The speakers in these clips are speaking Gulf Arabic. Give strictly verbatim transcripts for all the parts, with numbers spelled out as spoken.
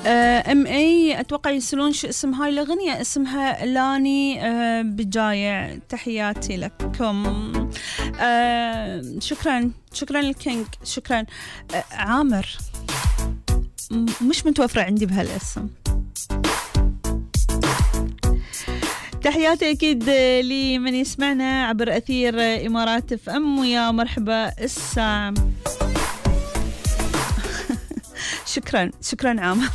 ام اي اتوقع يسألون شو اسم هاي الاغنية. اسمها لاني أه بجايع. تحياتي لكم. أه شكرا شكرا للكينج. شكرا. أه عامر مش متوفرة عندي بهالاسم. تحياتي أكيد لمن يسمعنا عبر أثير إمارات اف ام. ويا مرحبا السام. شكرا شكرا عامر.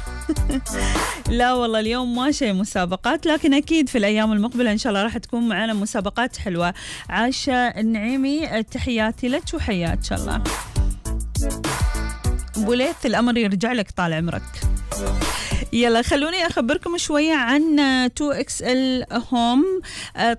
لا والله اليوم ما شيء مسابقات، لكن أكيد في الأيام المقبلة إن شاء الله راح تكون معنا مسابقات حلوة. عاشة النعيمي تحياتي لك وحياك إن شاء الله. بوليث الأمر يرجع لك طال عمرك. يلا خلوني أخبركم شوية عن تو إكس إل هوم.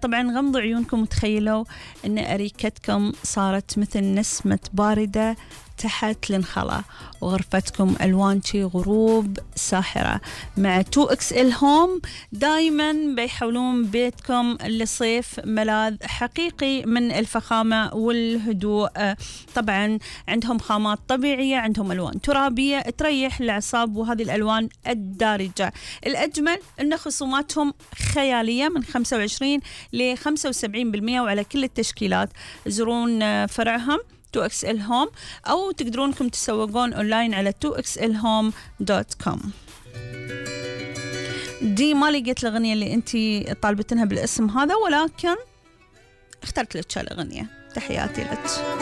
طبعا غمضوا عيونكم وتخيلوا أن أريكتكم صارت مثل نسمة باردة تحت الانخلاء، وغرفتكم ألوان شي غروب ساحرة. مع تو إكس إل هوم دايما بيحولون بيتكم لصيف ملاذ حقيقي من الفخامة والهدوء. طبعا عندهم خامات طبيعية، عندهم ألوان ترابية تريح الأعصاب، وهذه الألوان الدارجة. الأجمل أن خصوماتهم خيالية من خمسة وعشرين ل خمسة وسبعين بالمئة وعلى كل التشكيلات. زورون فرعهم تو إكس إل هوم، أو تقدرون انكم تسوقون أونلاين على تو إكس إل هوم دوت كوم. دي ما لقيت الأغنية اللي أنتي طالبتنها بالاسم هذا، ولكن اخترت لك الأغنية. تحياتي لك.